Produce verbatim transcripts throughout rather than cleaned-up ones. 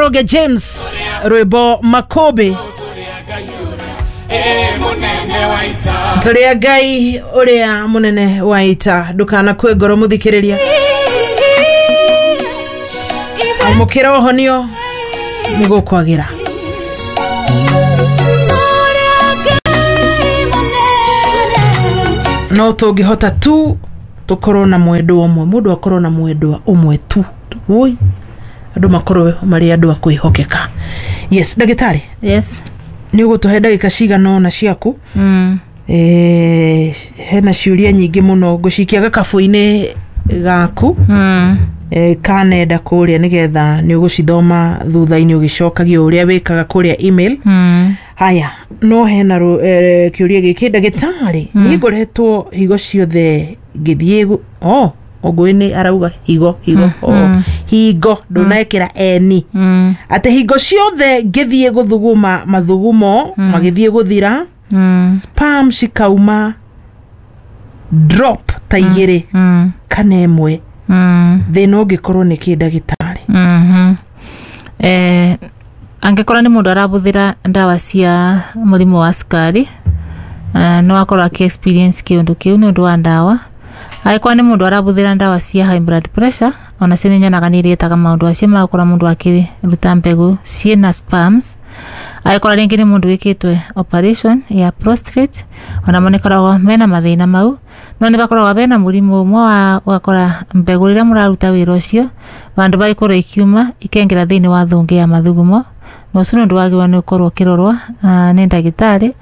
Njoroge James, rwĩmbo Makobe. Tũrĩa Ngai ũrĩa mũnene wa ita, ndũkanakue ngoro mũthikĩrĩria, amũkĩra ũhonio nĩ gũkwagĩra. No tũngĩhota tu tũkorwo na mwendwa ũmwe, mũndũ akorwo na mwendwa ũmwe tu, woi andũ makorwo marĩ andũ a kwĩhokeka. Yes, ndagĩtarĩ. Yes. Nĩ ũgũtũhe ndagĩka cigana ũna ciaku. Mm. Eh, hena ciũria nyingĩ mũno ngũcikia gakabũ-inĩ gaku. Mm. Eh, ka nenda kũrĩa nĩgetha nĩ ũgũcithoma thutha-inĩ ũgĩcokagia ũrĩa wĩkaga kũrĩa email. Mm. Haya, no hena ru- eh, kĩũria gĩkĩ ndagĩtarĩ. Mm. Niĩ ngoretwo higo ciothe ngĩthiĩ gu- oh, Ongũĩ nĩ arauga higo higo. Mm, oh, mm. hingo ndũnekĩra eni. Mm. Atĩ hingo ciothe ngĩthiĩ gũthuguma mathugumo Mm. magĩthiĩ gũthira, Mm. spam cikauma drop ta igĩrĩ Mm. kana ĩmwe. Mm. Thĩna ũngĩkorwo nĩ kĩ, ndagĩtarĩ? Mhm. Eh, angĩkorwo nĩ mũndũ arabũthĩra ndawa cia mũrimũ wa cukari, eh, no akorwo akĩ experience kĩũndũ kĩu nĩ ũndũ wa ndawa. Angĩkorwo nĩ mũndũ arabũthĩra ndawa cia high blood pressure, onacio nĩ nyonaga nĩ iretaga maũndũ acio ma gũkorwo mũndũ akĩruta mbegũ ciĩna sperms. Angĩkorwo rĩngĩ nĩ mũndũ wĩkĩtwe operation ya prostate, onamo nĩ koragwo mena mathĩna mau. No nĩ bakoragwo bena mũrimũ ũmwe wa ũgakora mbegũ rĩrĩa mũraruta wĩra ũcio vandũ bagĩkorwo ikiuma ikengera thĩinĩ wa thũngĩ ya mathugumo, na ũcio nĩ ũndũ wagĩrĩirwo nĩ gũkorwo ũkĩrorwo ah, nĩ ndagĩtarĩ,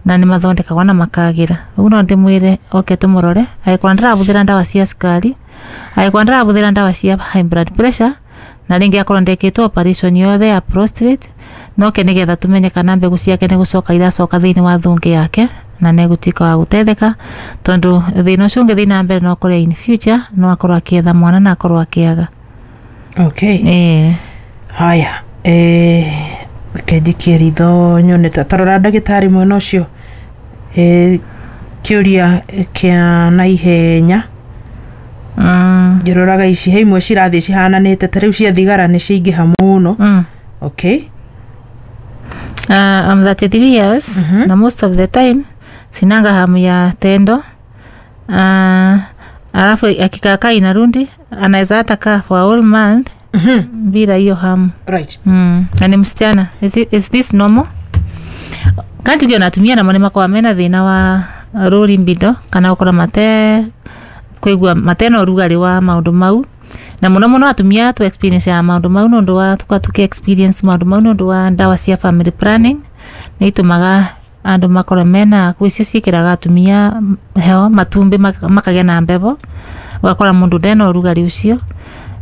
na nĩ mathondekagwo na makagĩra. Ũguo no ndĩmwĩre oke tũmũrore angĩkorwo ndarabũthĩra ndawa cia cukari, angĩkorwo ndarabũthĩra ndawa cia high blood pressure, na rĩngĩ akorwo ndekĩtwo operation yothe ya prostate, noke nĩgetha tũmenye kana mbegũ ciake nĩ gũcoka iracoka thĩinĩ wa thũngĩ yake na nĩ egũtuĩka wa gũtetheka, tondũ thĩna ũcio ũngĩthiĩ na mbere no ũkore in future no akorwo akĩetha mwana na akorwo akĩaga. Okay. Ĩĩ. Haya, eh, reke njikie ritho nyone ta tarora ndagĩtarĩ mwena ũcio. eh, kĩũria kĩa naihenya. Mm. Ngĩroraga ici he imwe cirathiĩ cihananĩte, ta rĩu cia thigara nĩ ciaingĩha mũno. Mm. Okay. Uh, I'm thirty-three years. Mhm. Na most of the time sinanga hamu ya tendo. Uh, alafu akikaakaa inarundi, anaweza hata kaa for a whole month Mhm. bila hiyo hamu. Right. Mm. Na ni msichana. Is, it, is this normal? Kanjuge natumia namo nĩ makoragwo mena thĩna wa rũri mbindo kana gũkorwo mate kũigua matena ũrugarĩ wa maũndũ mau, na mũno mũno atumia tu experience ya maũndũ mau nĩ ũndũ wa tũkoragwo tũkĩ experience maũndũ mau nĩ ũndũ wa ndawa cia family planning. Nĩ itũmaga andũ makorwo mena kwĩ icio ciĩkĩraga atumia heho matumbĩ maka- makagĩa na mbebo, ũgakora mũndũ ndena ũrugarĩ ũcio.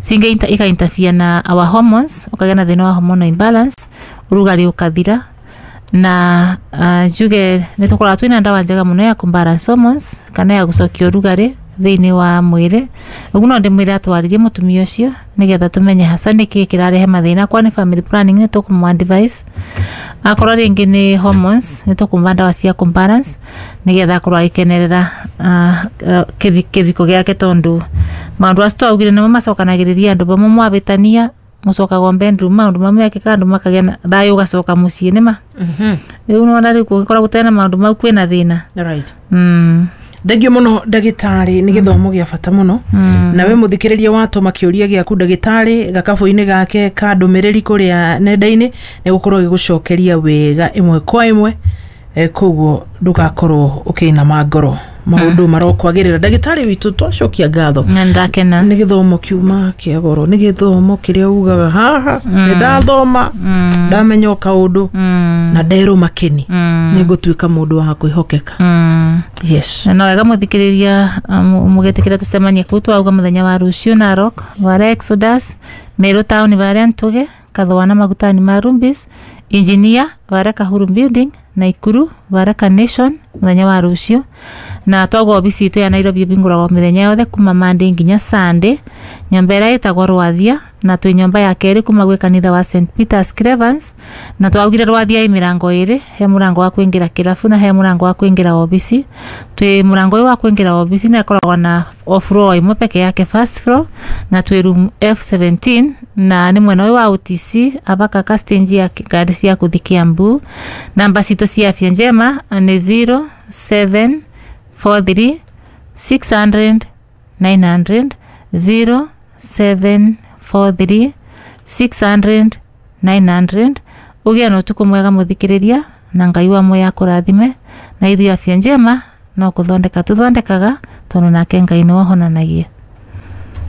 Cingĩ inter- ika interfere na our hormones, ũkagĩa na thĩna wa hormonal imbalance, ũrugarĩ ũkathira. Na uh, njuge nĩ tũkoragwo twĩna ndawa njega mũno ya kũbalance hormones kana ya gũcokia ũrugarĩ thĩinĩ wa mwĩrĩ. Ũguo no ndĩmwĩre atwarĩrie mũtumia ũcio nĩgetha tũmenye hasa nĩkĩĩ kĩrarehe mathĩna. Kwa nĩ family planning nĩ tũkũmũ advise, akorwo rĩngĩ nĩ hormones nĩ tũkũmũha ndawa cia kũbalance nĩgetha akorwo agĩkenerera uh, uh, kĩbi- kĩbiko gĩake, tondũ maũndũ acio twaugire nĩmo macokanagĩrĩria andũ bamwe mwabĩtania mũcokagwo bedroom, maũndũ mamwe mekĩka andũ makagĩa na thayũ ũgacoka mũciĩ nĩma. Mhm. Rĩu nĩwona rĩu kũngĩkorwo gũtarĩ na maũndũ mau kwĩna thĩna. Right. Mm. Thengio mũno ndagĩtarĩ, nĩ gĩthomo gĩa bata mũno. Mm. Nawe mũthikĩrĩria watũma kĩũria gĩaku ndagĩtarĩ gakabũ-inĩ gake ka ndũmĩrĩri kũrĩa nenda-inĩ, nĩ gũkorwo gĩgũcokeria wega ĩmwe kwa ĩmwe. eh, koguo ndũgakorwo ũkĩinama ngoro, maũndũ marokwagĩrĩra. Ndagĩtarĩ witũ, twacokia ngatho. Na ndakena. Nĩ gĩthomo kiuma kĩa goro, nĩ gĩthomo kĩrĩa ugaga haha nĩ ndathoma, Mm. ndamenya o kaũndũ Mm. na nderwo makeni Mm. nĩ ngũtuĩka mũndũ wa kwĩhokeka. Mm. Yes. Na no wega mũthikĩrĩria mũgĩtĩkĩra tũcemanie kũu twauga mũthenya wa rũciũ Narok varia Exodus, Meru town varia Ntuge Kathwana magutani ma Rumbis, Engineer varia Kahuru building. Naikuru Baraka Nation muthenya wa rucio. Na twagwo obici itu ya Nairobi ibinguragwo mithenya yothe kuma Monday nginya Sunday, nyomba ĩrĩa ĩtagwo Rwathia, na twĩ nyomba ya kerĩ kuma gwĩ kanitha wa Saint Peters Clevans. Na twaugire Rwathia ĩ mĩrango ĩrĩ, he mũrango wa kwĩngĩra kĩrabu na he mũrango wa kwĩngĩra obici. Twĩ mũrango ũyũ wa kwĩngĩra obici na ĩkoragwo na o floor ĩmwe peke yake, first floor, na twĩ room F seventeen, na nĩ mwena ũyũ wa O T C abaka ka stage ya ngari cia kũthi Kiambu. Namba citũ cia Afya Njema nĩ zero seven four three six hundred nine hundred, zero seven four three six hundred nine hundred. Ũgĩe na ũtukũ mwega mũthikĩrĩria, na Ngai wa muoyo akũrathime. Na ithuĩ Afya Njema no kũthondeka tũthondekaga, tondũ nake Ngai nĩwe ũhonanagia.